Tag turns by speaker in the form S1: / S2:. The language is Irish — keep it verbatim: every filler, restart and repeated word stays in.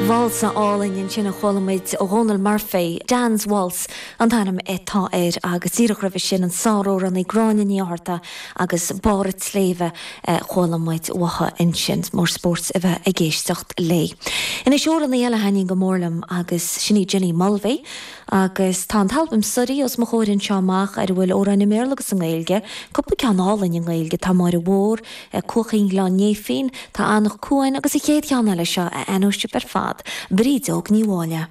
S1: Válsa álainn ansin a chuala muid ó Dhónal Murphy, Dan's Waltz an t-ainm atá air agus díreach roimhe sin an sáramhránaí Gráinne Ní Fhátharta agus Barr an tSléibhe chuala muid uaithi ansin mór spóirt a bheith ag éisteacht léi. Anois amhránaí eile a thaitníonn go mór liom agus sin í Jenny Mulvey, agus tá an t-albam Suirí os mo chomhair anseo amach ar a bhfuil amhráin i mBéarla agus i nGaeilge, cúpla ceann álainn i nGaeilge tá Máire Mhór, Cuaichín Ghleann Néifinn, tá Eanach Cuain agus an chéad cheann eile seo a aithneoidh sibh ar fad, Brídeog Ní Mháille.